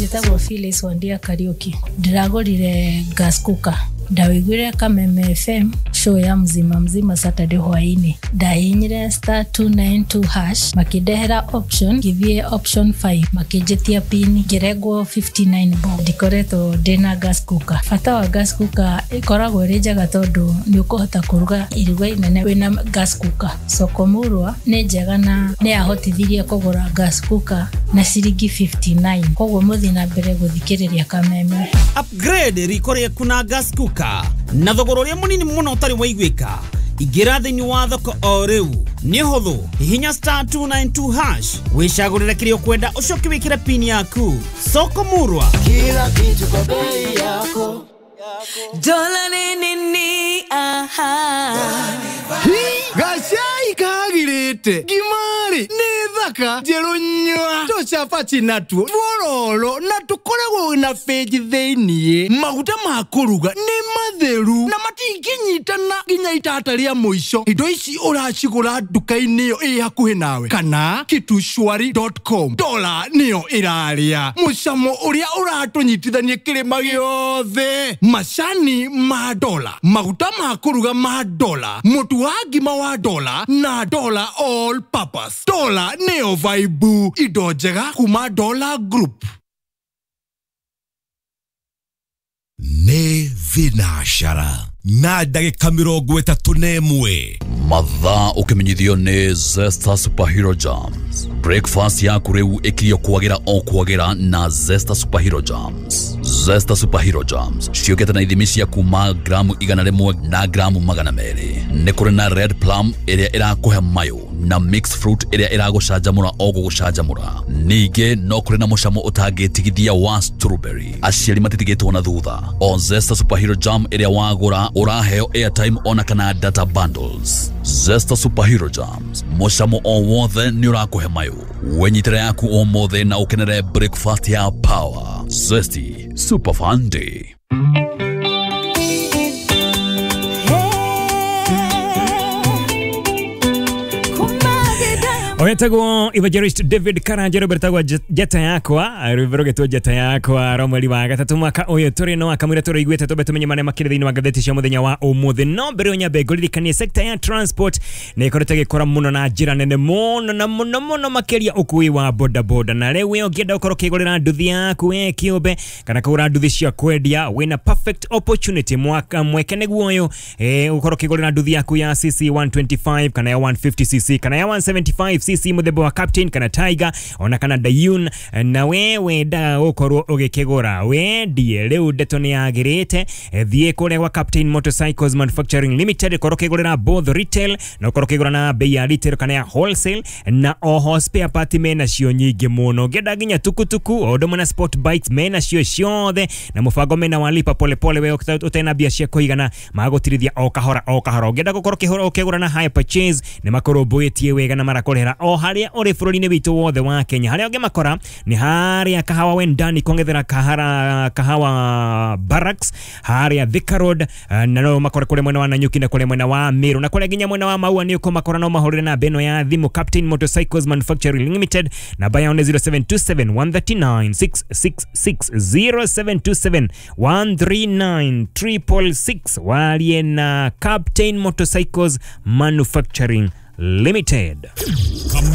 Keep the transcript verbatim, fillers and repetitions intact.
Njĩtagwo Phyllis Wandia Kariuki. Ndĩragũrire gas cooker. Ndawĩiguire Kameme F M, show ya Mzima Mzima, Saturday hwainĩ. Ndahihinyire star two nine two hash, makĩndehera option, ngĩthiĩ option five, makĩnjĩtia pin, ngĩrengwo fifty-nine bob. Ndikoretwo ndĩna gas cooker. Bata wa gas cooker, ĩkoragwo ĩrĩ njega tondũ nĩ ũkũhota kũruga iruga inene wĩna gas cooker. Soko Murwa nĩ njega na nĩ yahotithirie kũgũra gas cooker na ciringi fifty-nine. Koguo mũthiĩ na mbere gũthikĩrĩria Kameme. Upgrade riko rĩaku na gas cooker na thogora ũrĩa mũnini mũno ũtarĩ waiguĩka. Ingĩra thĩinĩ wa thoko o rĩu, nĩ ũhũthũ. Hihinya star two nine two hash, wĩcagũrĩre kĩrĩa ũkwenda, ũcoke wĩkĩre pin yaku. Soko Murwa. Kila kitu kwa bei yako. Dola ni nini? Aha. Gacai kagirĩte ngimari nĩ thaka njerũ nyua tũcabaci natuo twororo na tũkoragwo na benji thĩiniĩ. Maguta ma kũruga nĩ matheru na matingĩnyitana nginya itata rĩa mũico. Indo ici ũracigũra nduka-inĩ ĩyo ĩ hakuhĩ nawe kana kitushwari dot com. Dola nĩyo ĩrarĩa mũcamo ũrĩa ũratũnyitithania kĩrĩma gĩothe. Macani ma Dola, maguta ma kũruga ma Dola, mũtu wa ngima wa Dola na Dola all purpose. Dola nĩyo vibe. Indo njega kuma Dola Group. Nĩ thinacara na ndagĩka mĩrongo ĩtatũ na ĩmwe. Mathaa ũkĩmenyithio nĩ Zesta Superhero Jams. Breakfast yaku rĩu ĩkirio kwagĩra o kwagĩra na Zesta Superhero Jams. Zesta Superhero Jams ciũkĩte na ithimi cia kuma gramu igana rĩmwe na gramu magana merĩ. Nĩ kũrĩ na red plum ĩrĩa ĩrakũhe mayũ na mixed fruit ĩrĩa ĩragũcanjamũra o gũgũcanjamũra. Ningĩ no kũrĩ na mũcamo ũtangĩtigithia wa strawberry. Aciari matitigĩtwo na thutha. O Zesta Superhero Jam ĩrĩa wagũra, ũraheo airtime ona kana data bundles. Zesta Superhero Jams, mũcamo o wothe nĩ ũrakũhe mayũ. Wenyitĩre yaku ũmũthĩ na ũkenere breakfast ya power. Zesty Super Fun Day. Oyetagwo Evangelist David Karanja, rwĩmbo rwĩtagwo Njata Yakwa, rwĩmbo rũgĩtwo Njata Yakwa rwa mweri wa gatatũ mwaka ũyũ tũrĩ. No akamwĩra tũrĩiguĩte twambe tũmenye marĩa makĩrĩ thĩinĩ wa ngathĩti cia mũthenya wa ũmũthĩ. No mbere ĩyo nyambe ngũririkanie, sector ya transport nĩ ĩkoretwo ĩgĩkũra mũno na njĩra nene mũno na mũno mũno makĩria ũkui wa bodaboda. Na rĩu we ũngĩenda ũkorwo ũkĩgũrĩra nduthi yaku we kĩũmbe kana kũgũra nduthi cia kwendia, wĩna perfect opportunity. Mwaka mweke nĩguo ũyũ eh, ũkorwo ũkĩgũrĩra nduthi yaku ya C C one twenty-five kana ya one fifty C C kana ya one seventy-five C C, mũthemba wa Captain kana Tiger ona kana Dayun, na we wendaga gũkorwo ũgĩkĩgũra wendie. Rĩu ndeto nĩ yagĩrĩte. Thiĩ kũrĩa gwa Captain Motorcycles Manufacturing Limited, ũkorwo ũkĩgũrĩra both retail na ũkorwo ũkĩgũra na bei ya retail kana ya wholesale, na oho spare part mena cio nyingĩ mũno. Ũngĩenda nginya tukutuku o ũndũ ũmwe na sport bikes, mena cio ciothe, na mũbango mena wa lipa polepole. We ũtena mbia cia kũigana, magũtirithia o kahora o kahora. Ũngĩenda gũkorwo ũkĩhũra ũkĩgũra na hire purchase, nĩ makũrũmbũĩtie wega na marakũrĩhĩra o harĩa ũrĩ bũrũri-inĩ witũ wothe wa Kenya. Harĩa ũngĩmakora nĩ harĩa Kahawa Wendani kongethera kahara Kahawa Barracks harĩa Thika Road, eh, na no makore kũrĩa mwena wa Nanyuki na kũrĩa mwena wa Meru na kũrĩa nginya mwena wa Maua nĩ ũkũmakora. No mahũrĩre namba ĩno ya thimũ, Captain Motorcycles Manufacturing Limited, namba yao nĩ zero seven two seven, one three nine, six six six, zero seven two seven, one three nine, six six six. Warie na Captain Motorcycles Manufacturing Limited.